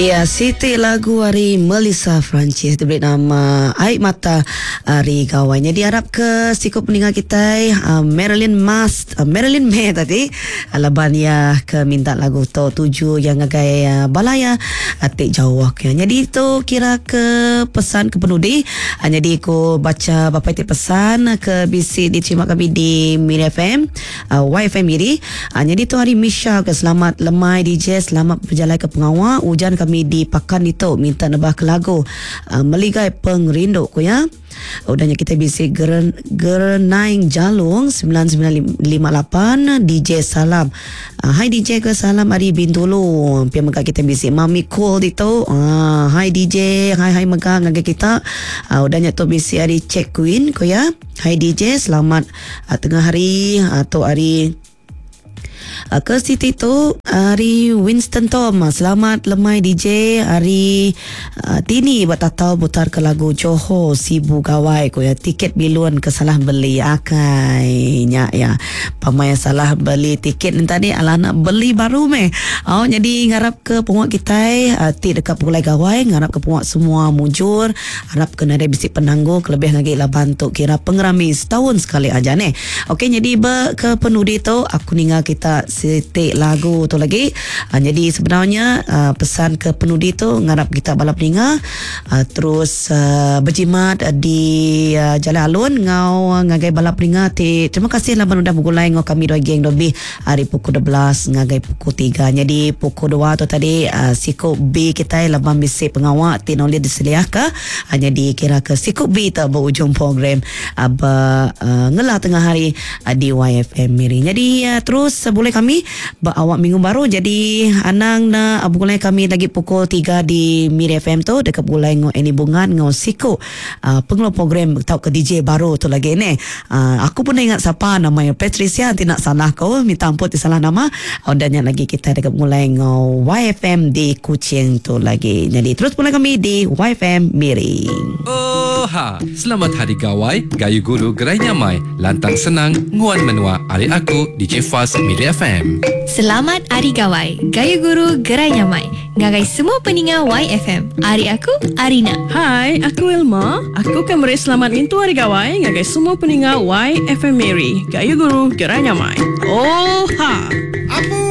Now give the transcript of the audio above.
Iya, siti lagu ari Melissa Francis diberi nama Ai Mata Ari Gawai. Nyadi arap ke siku peninga kitai uh, Marilyn Mas, uh, Marilyn May tadi uh, laban iya ke minta lagu tu tuju yang ngagai uh, bala iya uh, ti jauh ke. Nyadi tu kira ke pesan ke penudi. Uh, nyadi ku baca bapa ti pesan ke bisi diterima kami di Miri FM, uh, YFM Miri. Ah, nyadi tu hari Misha ke selamat lemai DJ selamat bejalai ke pengawa ujan kami di Pakan ditu minta nebah ke lagu ah, Meligai Pengerindu ku ya. Udah nya kita bisi Geren Gerenaing Jalung 9958 DJ Salam. Ah, hai DJ ke salam ari Bintulu. Pia mega kita bisi Mami Cool ditu. Ah, hai DJ, hai hai mega ngagai kita. Ah, udah nya tu bisi ari Check Queen ku ya. Hai DJ selamat tengah hari tu hari ke siti tu hari Winston Tom selamat lemai DJ hari tini ba tatau putar ke lagu Johor Sibu Gawai ku ya tiket bilun ke salah beli akai nya ya pamai salah beli tiket nya tadi alah nak beli baru meh au nyadi ngarap ke penguat kitai ti deka pulai gawai ngarap ke penguat semua mujur Arap ke nadai bisi penanggul kelebih agi laban tu kira pengerami setaun sekali aja neh. Okey nyadi be ke penudi tu aku ninga kita siti lagu tu lagi. Nyadi sebenarnya pesan ke penudi tu ngarap kita bala peninga terus bejimat di jalai alun enggau ngagai bala peninga ti terima kasih laban udah begulai enggau kami dua geng lebih Ari pukul 12 ngagai pukul tiga. Nyadi pukul dua tu tadi siku B kitai laban bisi pengawa ti enda ulih diseliahka. Nyadi kira ke siku B tu ba ujung program ba ngela tengah hari di YFM Miri. Nyadi terus bulih kami ba awak minggu baru. Jadi anang enda begulai kami lagi pukul tiga di Miri FM tu deka begulai enggau Annie Bungan enggau siku Pengeluar program tauka DJ baru tu lagi neh. Aku pun enda ingat sapa nama iya Patricia enti enda salah ko minta ampun ti salah nama. Udah nya lagi kitai deka begulai enggau YFM di Kuching tu lagi. Nyadi terus begulai kami di YFM Miri. Oha! Selamat Hari Gawai, Gayu Guru Gerai Nyamai, Lantang Senang, Nguan Menua ari aku DJ Faz Miri FM. Selamat Ari Gawai, Gayu Guru Gerai Nyamai. Ngagai semua peninga YFM. Ari aku, Arina. Hai, aku Wilma. Aku ka meri selamat ngintu Hari Gawai ngagai semua peninga YFM Miri. Gayu guru, gerai nyamai. Oh ha! Apu!